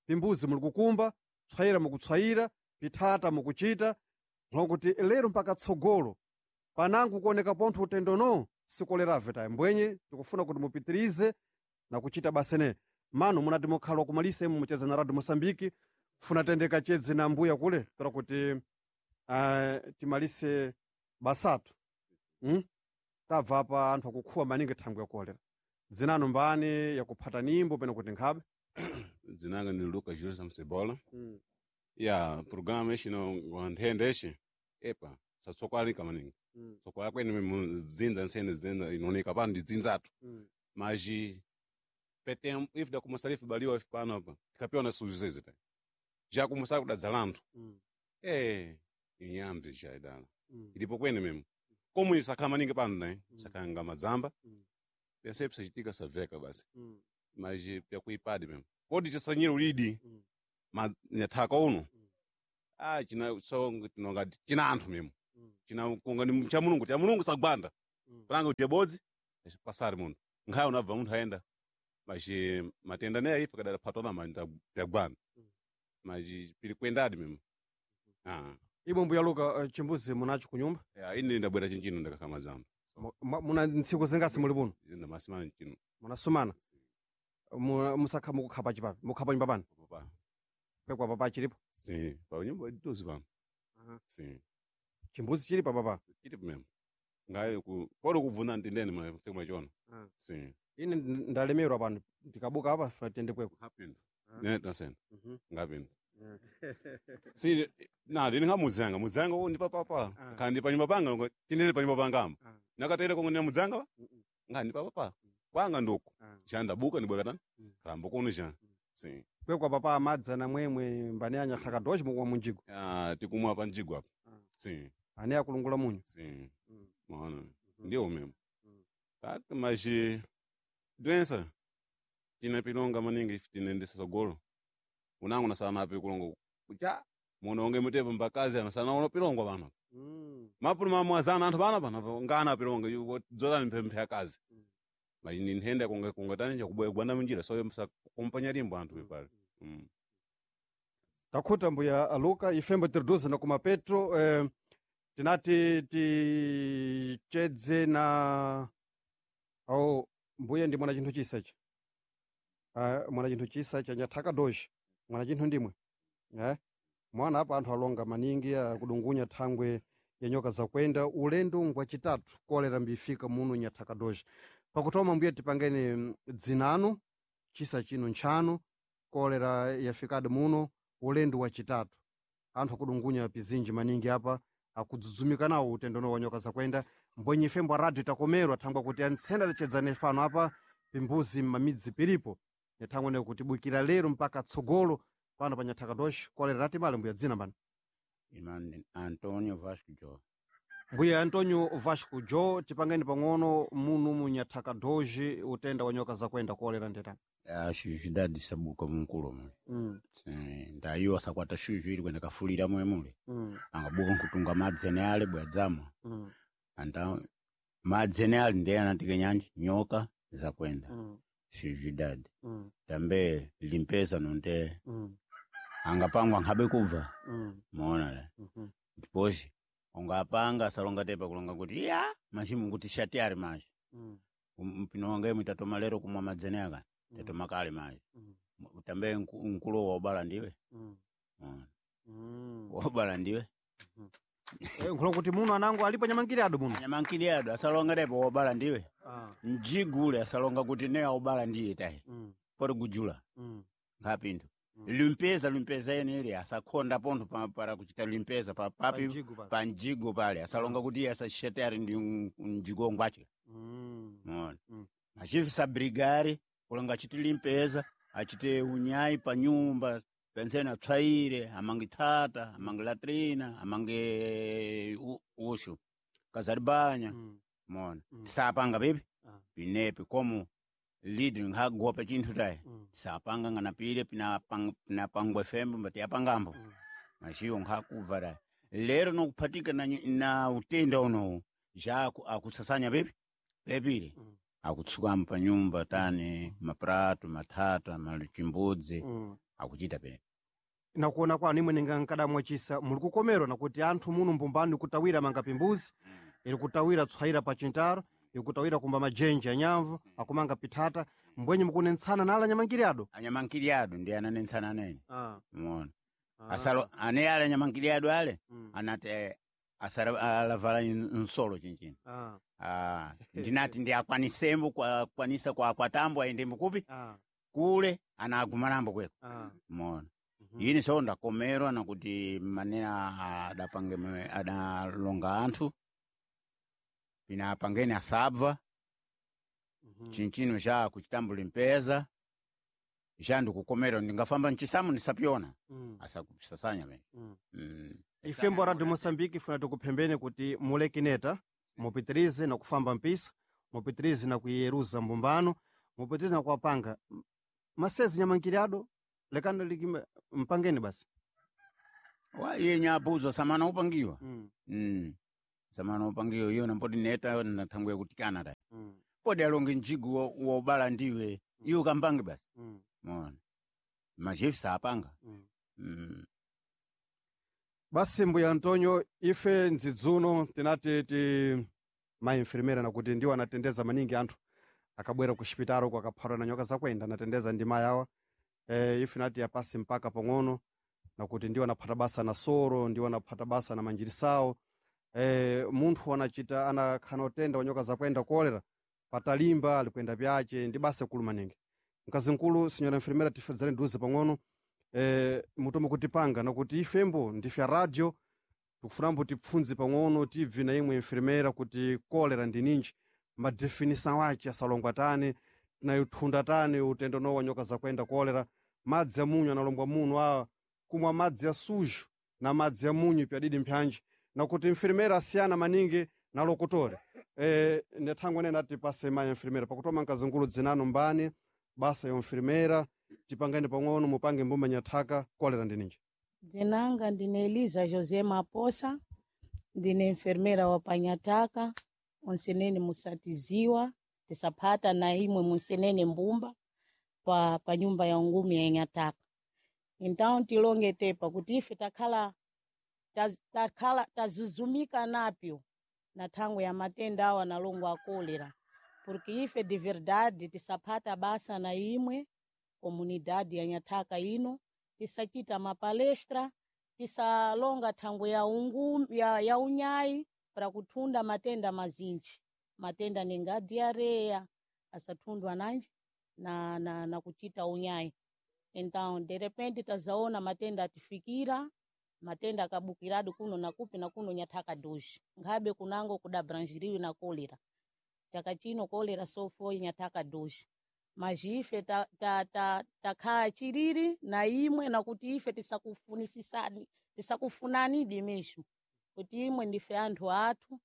pimbuzi muli kukumba tswayira mukutswayira pithata mukuchita nkokuti lero mpaka tsogolo panango kuoneka pontho utendo no sikolerave tayi mbwenye tikufuna kuti mupitirize na kuchita basa ene mano munati mukhala wakumalisa imwe mucheza na radio moçambique funa tende kachedze na mbuya kule tora kuti timalise basatu Tabva apa anthu akukhuwa maningi thangwi yakolera dzinano mbani yakuphata nimbo pena kuti nkhabe Dzinanga ni Lucas Julius Msebola. Ya programa ixino nthenda ixi epa satsokwalika maningi tsokwala kwene memo dzinza nsene dzinza inooneka pano ndi dzinzatu maji petem if da começar if baliwa if pano apa tikapewa na suzu ta já começar kudadza lanthu inyambi já idala ilipo kwene memo como isakhala maningi pano né sakanga madzamba pense psachitika saveka basi mas pyakuipadi memo kodi chisanyira ulidi ma nyathaka uno. Ah, china so tinonga china anthu memo. China kunga ni cha Mulungu, cha Mulungu sagwanda. Palanga kuti bodzi pasari munthu. Nkhayo unabva munthu aenda. Machi matenda naye ife kadala phatona manda yagwanda. Machi pili kwendadi memo. Ah. Imwe mbuya Luka chimbuzi munacho kunyumba? Ya ine ndabwera chinchino ndakakama zamba. Muna ntsiku zingasi muli buno? Ndamasumana chino. Munasumana? Musakha mukukhapa chipapi? Mukhapa nyumba pano? Papa. Kwekwa papa chilipo? Sim, pa nyumba dozi pano. Sim. Chimbuzi chili pa papa? Chili memo. Ngayo ku polo kuvuna ndindeni mwa tekwa chona. Sim. Ine ndalemerwa pano ndikabuka apa funa tiyende kwekwa. Happened. Ne tasena. Ngapinda. Si na ndini ngamuzanga, muzanga wo ndi papa. Kandi pa nyumba panga ngo tinene pa nyumba panga amo. Nakatere kongo ne muzanga pa? Ngani pa papa. Kwanga ndoko. Chanda buka ni bwekatani. Kalamba kono cha. Sim. Kwekwa papa amadzi na mwemwe mbani anyathaka doji mukumwa munjigo. Ah, tikumwa pa njigo apa. Sim. Ane akulungula munyu. Sim. Mwana. Ndiwo memo. Kaka maji doença tina pilonga maningi tinendesa sogolo. Unangu nasana api kulongo kucha muno onge mutepo mbakazi anasana ono pilongo pano. Mapulu mamwazana anthu pano pano ngana pilongo yuko dzolani mphemphe akazi. Maji ni nthenda kunga kunga tani cha kubwanda munjira so msa kumpanya limbo anthu pale. Takhuta mbuya Luka ifembo tiriduze na kuma Petro tinati tichedze na au mbuya ndi mwana chinthu chisa ichi. Mwana chinthu chisa cha nyathaka doji mwana chinthu ndimwe mwana apa anthu alonga maningi akudungunya thangwe ya nyoka zakwenda ulendo ngwachitatu kolera mbifika muno nyathaka doji pakutoma mbuya tipangeni dzinano chisa chino ntchano kolera yafikadi muno ulendo wachitatu anthu akudungunya pizinji maningi apa akudzudzumika nawo utendono wa nyoka zakwenda mbwenye ifembo a radio takomerwa thangwa kuti antsenda tichedzane fano apa pimbuzi m'mamidzi pilipo nyathangwe ne kuti bukira lero mpaka tsogolo pano pa nyathaka doji kolera latimale mbuya dzina mbani Irmão Antônio Vasco Jó. Mbuya Antonio Vasco Jo tipangeni pang'ono munu mu nyathaka doji utenda wa nyoka zakwenda kolera ndetani Acho cidade de Sabuca munkulo mule. Ndayiwa sakwata shuju ili kwenda kafulira mwe mule. Angabuka nkutunga madzi ene ale bwadzamwa. Anda madzi ene ale ndiye anatike nyanji nyoka zakwenda. Shuju dade. Tambe limpeza nonte angapangwa nkhabe kubva. Muona le. Ndiposhi ungapanga asalonga tepa kulonga kuti ya machimu kuti shati ali machi. Mpino wange mwitatoma lero kumwa madzene aka tatoma kale machi. Tambe nkulo wobala ndiwe. Muona. Wobala ndiwe. Nkhulo kuti muno anango alipo nyamangiri ado muno. Nyamangiri ado asalonga tepa wobala ndiwe. Njigule asalonga kuti ne obala ndiye tayi. Pori gujula. Ngapindu. Limpeza limpeza ene ili asakhonda pontho para kuchita limpeza pa papi panjigo pale asalonga kuti iye asachete ali ndi mjigo ngwache. Muona. Machifu sabrigari kulonga achite limpeza achite unyai pa nyumba penseni atswaire amange thata amange latrina amange ushu kazaribanya. Mona tisapanga pipi pinepi komo lidri nkhagopa chinthu tayi tisapanga ngana pile pinapangwa fembo mbati yapangambo machiwo nkhakubva tayi lero nokuphatika na utenda unowu ja akusasanya pipi pepile akutsukamo pa nyumba tani maprato mathata machimbudzi akuchita pene Nakuona kwanu imwe ninga nkadamwa chisa muli kukomerwa nakuti anthu muno mbumbani kutawira manga pimbuzi iri kutawira tswaira pa chintaro ikutawira kumba majenji anyamvu akumanga pithata mbwenye mukunentsana nala anyamangiri ado anyamangiri ado ndi ananentsana nene muona asalo ane ale anyamangiri ado ale anati asara alavala nsolo chinchino ndinati ndi akwanisembo kwanisa kwa kwatambo ayendembo kupi kule anagumanambo kweko muona ine so ndakomerwa nakuti manena adapange adalonga anthu pinapangeni asabva chinchino cha kuchitambula mpeza cha ndikukomerwa ndingafamba nchisamu ndisapyona asakusasanya mene Ifembo Radio Moçambique ifuna tikuphembeni kuti mulekineta mupitirize na kufamba mpisa mupitirize na kuyeruza mbumbano mupitirize na kuwapanga masezi nyamangiri ado lekani likime mpangeni basi. Wa iye nyabuzo samana upangiwa. Samana upangiwa iyo nampoti neta nathanguya kutikana ta. Podi alonge njigu wa ubala ndiwe iwo kampange basi. Mona. Machefu sapanga. Basi mbuya Antonio, ife ndzidzuno tinati ti mainfirmera nakuti ndiwo anatendeza maningi anthu akabwera ku xipitalo uko akaphatwa na nyoka zakwenda anatendeza ndima yawa. Ife nati apasi mpaka pang'ono nakuti ndiwo anaphata basa na soro, ndiwo anaphata basa na manjirisawo. Munthu anachita anakhana utenda wa nyoka zakwenda kolera patalimba alikwenda pyace ndi basa kulu maningi. Mkazinkulu sinyora infirmera tifedzere nduze pang'ono. Mutomo kutipanga nakuti ifembo ndife a radio tikufunambo tipfundze pang'ono tibvi na imwe infirmera kuti kolera ndi ninji madefinisa wace asalongwa tani tinayuthunda tani utendo nowa nyoka zakwenda kolera madzi a munyu analongwa muno awa kumwa madzi a sujo na madzi a munyu pyadidi mpyanji nakuti infirmera asiyana maningi na lokotore. Nethangwe nene ati pase mayi infirmera pakutoma mkazingulu dzinano mbani basa ya infirmera tipangani pang'ono mupange mbumba nyathaka kolera ndi ninji. Dzinanga ndine Eliza José Maposa, ndine enfermeira wa Panyataka, onsenene musatiziwa, tisaphata na imwe munsenene mbumba pa nyumba ya ngumi ya Nyataka. Então tilonge tepa kuti ife takhala takhala tazuzumika napyo na thangwe ya matenda awa nalongo a kolera, porque ife de verdade tisaphata basa na imwe comunidade ya Nyathaka ino, tisachita mapalestra, tisalonga thangwe ya, ya unyayi para kuthunda matenda mazinji, matenda ninga diarreia asathundwa nanji na kuchita unyayi. Então de repente tazaona matenda atifikira, matenda akabukiradi kuno na kupi na kuno Nyathaka doji nkhabe kunango kudabranjiriwe na kolera. Chaka chino kolera sofo Nyathaka doji maji ife takhala chiriri na imwe nakuti ife tisakufunisisani tisakufunanidi mesmo kuti imwe ndife anthu athu.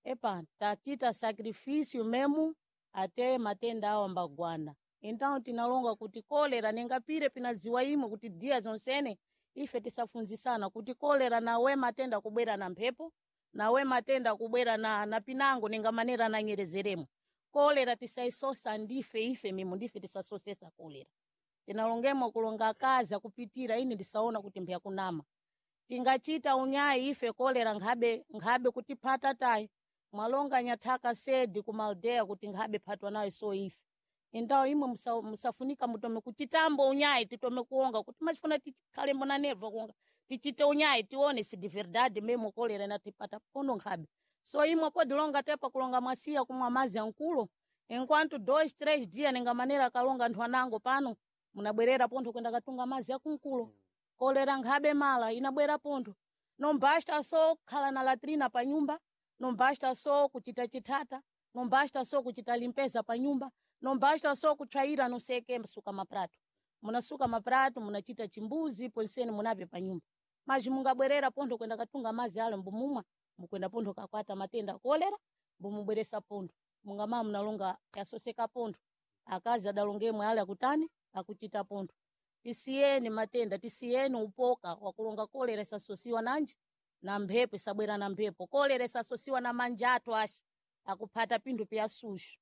Epa tachita sacrifício memo ate matenda awa mbagwana. Então tinalonga kuti kolera ningapire pinadziwa imwe kuti dia zonsene ife tisafunzisana kuti kolera nawe matenda kubwera na mphepo nawe matenda kubwera na pinango ninga manera nanyerezeremo. Kolera tisaisosa ndife ife mimo ndife tisasosesa kolera. Tinalongemo kulonga kazi akupitira ini ndisaona kuti mbya kunama. Tingachita unyayi ife kolera nkhabe kutiphata tayi. Mwalonga Nyathaka sedi ku Maldea kuti nkhabe phatwa nayo so ife. Então imwe musafunika mutome kuchitambo unyayi titome kuonga kuti machifuna tikhale mbona neva kuonga tichite unyayi tione si de verdade memo kolera inatipata pono nkhabe. So imwe podilonga tepa kulonga mwasiya kumwa mazi ankulo enquanto 2 3 dias ninga manera akalonga anthu anango pano munabwerera pontho kwenda katunga mazi akunkulo. Kolera nkhabe mala inabwera pontho. Não basta só khala na latrina pa nyumba, não basta só kuchita chithata, não basta só kuchita limpeza pa nyumba, não basta só kutsvaira não sei que suka maprato. Munasuka maprato, munachita chimbuzi, ponseni munape pa nyumba. Mas mungabwerera pontho kwenda katunga mazi ale mbumumwa, mukwenda pontho kakwata matenda kolera, mbumubweresa pontho. Mungamama munalonga yasoseka pontho. Akazi adalongemwe ale akutani akuchita pontho. Tisiyeni matenda, tisiyeni upoka wakulonga kolera isasosiwa nanji na mphepo isabwera na mphepo. Kolera isasosiwa na manja athu axi akuphata pinthu pya suxu.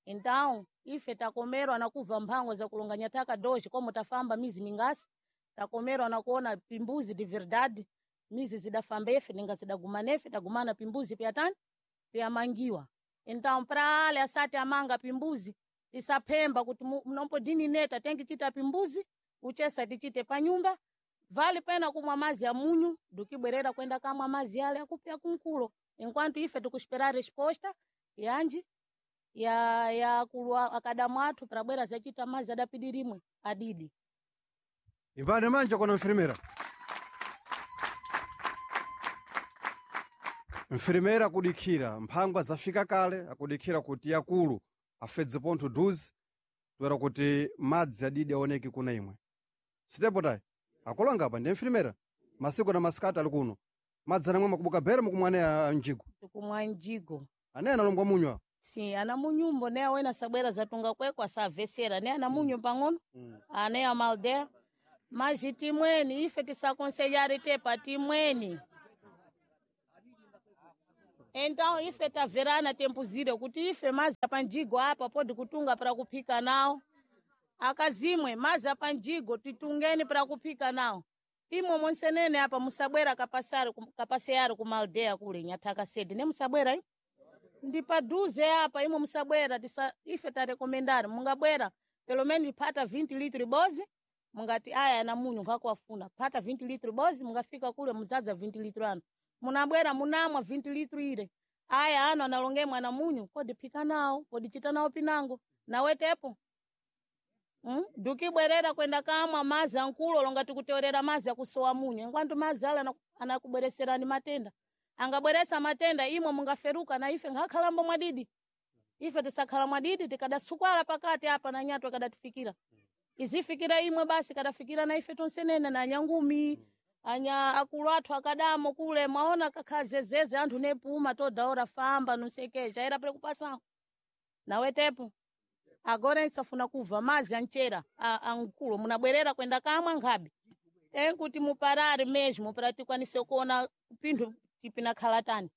Então ife takomerwa na kubva mphango za kulonga Nyathaka doji como tafamba mizi mingasi, takomerwa na kuona pimbuzi de verdade mizi zidafamba efe ninga zidagumana efe tagumana pimbuzi pyatani pyamangiwa. Então pra ale asati amanga pimbuzi tisaphemba kuti mnompodini neta tengichita pimbuzi uchesa tichite pa nyumba vale pena kumwa mazi a munyu dukibwerera kwenda kamwa mazi ale akupya kunkulo enquanto ife tikuspera resposta yanji ya kulwa akadamu athu prabwera zachita mazi adapidirimwe adidi. Imbani manja kona infirmera. Mfirimera akudikhira mphangwa zafika kale akudikhira kuti akulu afedze pontho duzi toera kuti madzi adidi aoneke kuna imwe. Sitepo tayi akulonga apa ndi mfirimera masiku na masikati ali kuno madzi anamwe makubuka bere mukumwa ane a mjigo Tikumwa mjigo ane analongwa munywa. Si ana munyumbo ne awena sabwera zatunga kwekwe asavesera ne ana munyu pang'ono ane amaldea. Maji timweni ife tisakonselhare tepa timweni. Então ife taverana tempuzire kuti ife mazi apanjigo apa podi kutunga para kuphika nawo. Akazimwe mazi apanjigo titungeni para kuphika nawo. Imwe monsenene apa musabwera kapasari kapaseyari ku kule nyathaka sedi ne musabwera i? Ndi paduze apa imwe musabwera tisa, ife tarekomendari mungabwera pelo menos phata 20 litri bozi mungati aya na munyu ngakuwafuna phata 20 litri bozi mungafika kule mudzaza 20 litri ano munabwera munamwa 20 litri ile aya ano analonge mwana munyu kodi phika nawo kodi chita nawo pinango nawetepo. Dukibwerera kwenda kamwa mazi ankulo longa tikuteorera mazi akusowa munyu engwantu mazi ala anakubwereserani matenda angabweresa matenda imwe mungaferuka na ife ngakhalambo mwadidi ife tisakhala mwadidi tikadasukwala pakati apa na nyatwa kadatifikira izifikira imwe basi kadafikira na ife tonsenene na anyangumi anya akulu athu akadamo kule mwaona kakhazezeze anthu nepuma todaora famba nusekesha era pele kupasa nawetepo agora nsafuna kubva mazi anchera ankulo munabwerera kwenda kamwa nkhabe tenkuti muparare mesmo para tikwanise kuona pinthu tipinakhala tani.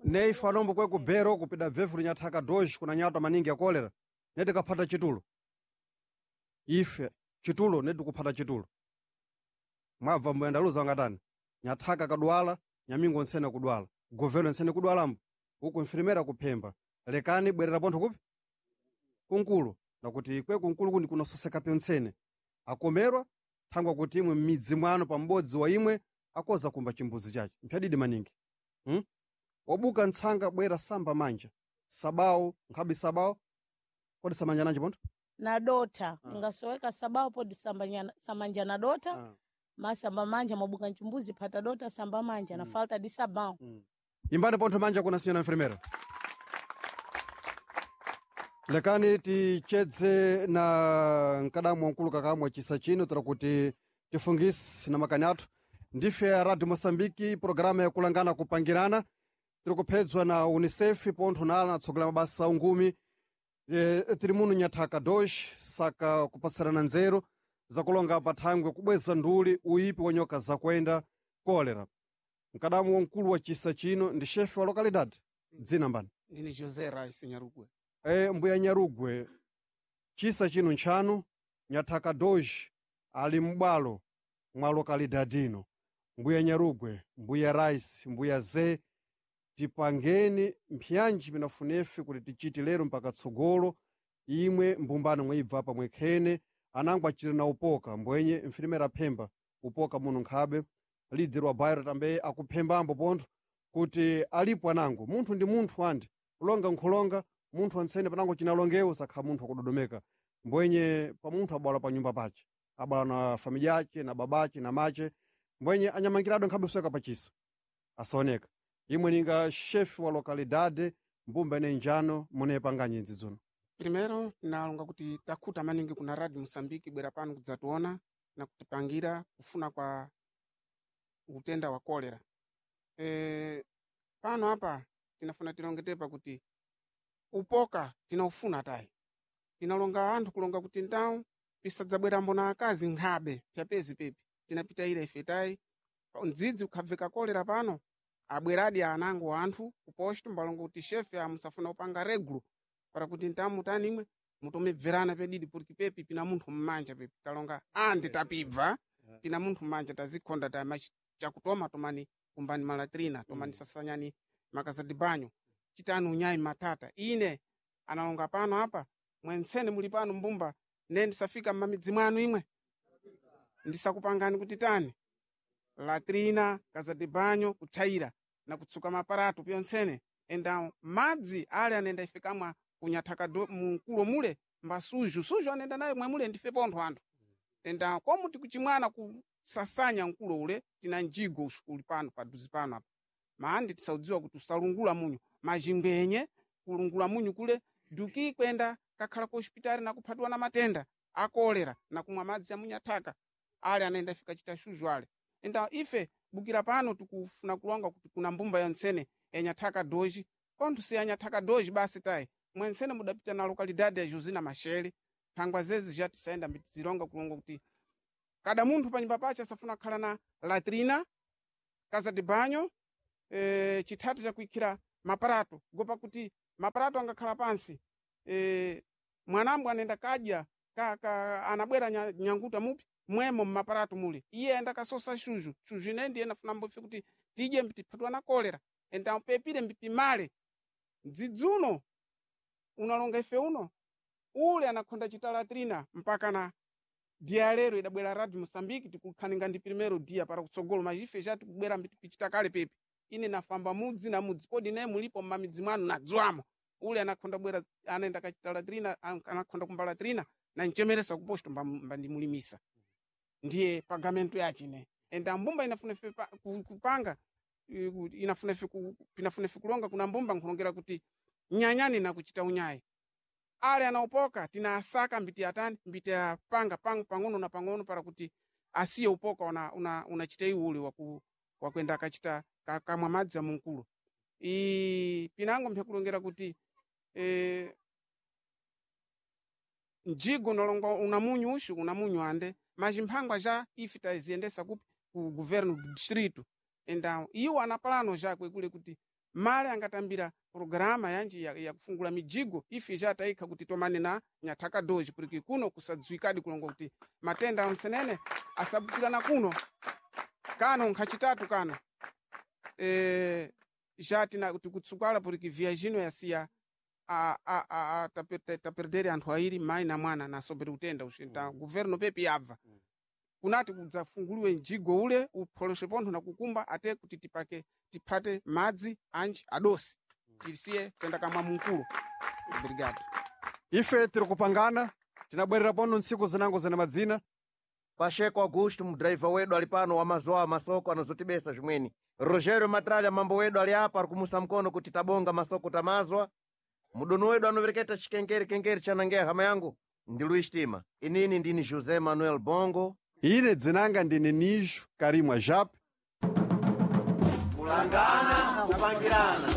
Neife anombo kwe kubhero kupida bvefu linyathaka doji kuna nyatwa maningi ya kolera netikaphata chitulo ife chitulo netikuphata chitulo mwabva mbuyandaluza wangatani nyathaka kadwala nyamingo ntsene kudwala govelo ntsene kudwalambo uku mfirimera kuphemba lekani bwerera pontho kupi kunkulu nakuti kwe kunkulu kundi kunososeka pyontsene akomerwa thangwa kuti imwe m'midzi mwanu pam'bodzi wa imwe akoza kumba chimbuzi chace mphyadidi maningi. Obuka ntsanga bwera samba manja sabawo nkhabe sabawo kodi samanja nanji pontho na dota ingasoweka sabawo podi samanja na dota masamba manja mwabuka mchimbuzi phata dota samba manja na falta de sabão. Imbani pontho manja kuna senhora enfermeira. Lekani tichedze na mkadamu wankulu kakamwa chisa chino tira kuti tifungise na makani athu ndife ya radio moçambique programa yakulangana kupangirana tiri kuphedzwa na unicef pontho nala natsogolera mabasa ungumi tiri muno nyathaka dosh saka kupasirana nzeru zakulonga pathangwe kubweza nduli uyipi wa nyoka zakwenda kolera. Mkadamu wamkulu wa chisa chino ndi chefe wa lokalidade dzina mbani? Ndine José Rice Nyarugwe. Mbuya Nyarugwe, chisa chino ntchanu nyathaka doji ali m'bwalo mwa lokalidade ino. Mbuya Nyarugwe, mbuya Rice, mbuya Ze, tipangeni mphiyanji pinafunefe kuti tichite lero mpaka tsogolo imwe mbumbano mwibva apa mwekhene anango achite na upoka mbwenye mfilimera phemba upoka muno nkhabe lidzi wa bairo tambe akuphembambo pontho kuti alipo anango munthu ndi munthu andi kulonga nkhulonga munthu antsene panango chinalongewo sakha munthu akudodomeka mbwenye pa munthu abwala pa nyumba pace abwala na familia yace na babace na mace mbwenye anyamangirado nkhabe kuseka pachisa asaoneka imwe ninga chefe wa localidade mbumba ine njano munepanga nyinzi dzuno. Primeiro tinalonga kuti takhuta maningi kuna Radio Moçambique bwera pano kudzationa na kutipangira kufuna kwa utenda wa kolera. Pano apa tinafuna tilongetepa kuti upoka tinaufuna tayi tinalonga anthu kulonga kuti ndawu pisadzabwerambo na akazi nkhabe pyapezi pepi tinapita ila ife tayi mdzidzi ukhabveka kolera pano abweradi anango anthu kuposto mbalonga kuti shefe amusafuna kupanga regulo para kuti ntamu tani imwe mutomebverana pedidi porque pepi pina munthu mmanja pepi talonga andi tapibva pina munthu mmanja tazikhonda tama chakutoma tomani kumbani malatrina tomani sasanyani makazadi banyo chitani unyayi matata ine analonga pano apa mwentsene muli pano mbumba ne ndisafika mmamidzi mwanu imwe ndisakupangani kuti tani latrina kazadi banyo kuthaira na kutsuka maparato pyontsene enda madzi ale anenda ife kamwa kunyathaka munkulo mule mba suju suju anenda naye mwemule ndife pontho anthu enda komu tikuchimwana kusasanya mkulo ule tina njigo uli pano paduzi pano apa maandi tisaudziwa kuti usalungula munyu mazhingwenye kulungula munyu kule duki kwenda kakhala ku hospitali nakuphatiwa na matenda akolera nakumwa madzi amunyathaka ale anenda ife kachita shuju ale enda ife bukira pano tikufuna kulonga kuti kuna mbumba yontsene yanyathaka doji pontho si yanyathaka doji basi tayi mwentsene mudapita na lokalidade ya Josina Machele Phangwa zezi ja tisayenda mbitizilonga kulonga kuti kada munthu panyumba pache asafuna kukhala na latrina, kaza de banho, chithati chakuikhira maparato, gopa kuti maparato angakhala pansi, mwanambo anenda kadya anabwera nyanguta mupi mwemo mmaparato mule, iye ayenda kasosa shuju shuju ine ndiye nafuna mbofe kuti tidye mbitiphatwa na kolera, enda pepire mbipimale dzidzuno unalonga ife uno ule anakhonda chita latrina mpaka na dia lero idabwera Radio Mozambique tikukhaninga ndi primero dia para kutsogolo majife ja tikubwera mbitipichita kale pepi ine nafamba mudzi na mudzi podi naye mulipo mmamidzi mwanu nadziwamo ule anakhonda bwera anaenda kachita latrina, anakhonda kumba latrina na nchemeresa kuposto mbandimulimisa ndiye pagamento yachine enda mbumba inafuna ife kupanga, inafuna ife pinafuna ife kulonga kuna mbumba nkulongera kuti nyanyani nakuchita unyayi ale anaopoka tina asaka mbiti atani mbiti apanga pang'ono na pang'ono para kuti asiye upoka unachita una iwo ule wakwenda akachita kamwa madzi amunkulo. I pinango mpyakulongera kuti mjigo nalongwa una munyu ushu una munyu ande majimphangwa ja ife taziyendesa kupi ku governo do distrito, enda iwo ana plano jakwe kule kuti male angatambira programa yanji ya kufungula mijigo ife ja taikha kuti tomane na nyathaka doji porque kuno kusadziwikadi kulonga kuti matenda onsenene asabukirana kuno kano nkhachitatu kano, ja tina tikutsukala porque viagino yasiya taperdere anthu airi mayi na mwana nasobere utenda uxi nta governo pepi yabva kunati kudzafunguliwe mjigo ule upholoshe pontho na kukumba ate kuti tipake tiphate madzi anji adosi tisiye kwenda kamwa munkulo. Obrigado. Ife tiri kupangana tinabwerera pano ntsiku zinango zina madzina. Pacheco Augusto, mudhiraivha wedu ali pano wamazowa masoko anozotibesa zvimweni. Rogério Matralha, mambo wedu ali apa ari kumusa mkono kuti tabonga masoko tamazwa. Mudoni wedu anovereketa chikenkeri kenkeri chanangeya hama yangu ndi Luiz Tima. Inini ndini José Manuel Bongo. Ine dzinanga ndine Nijo Karimwa Jape. Kulangana kupangirana.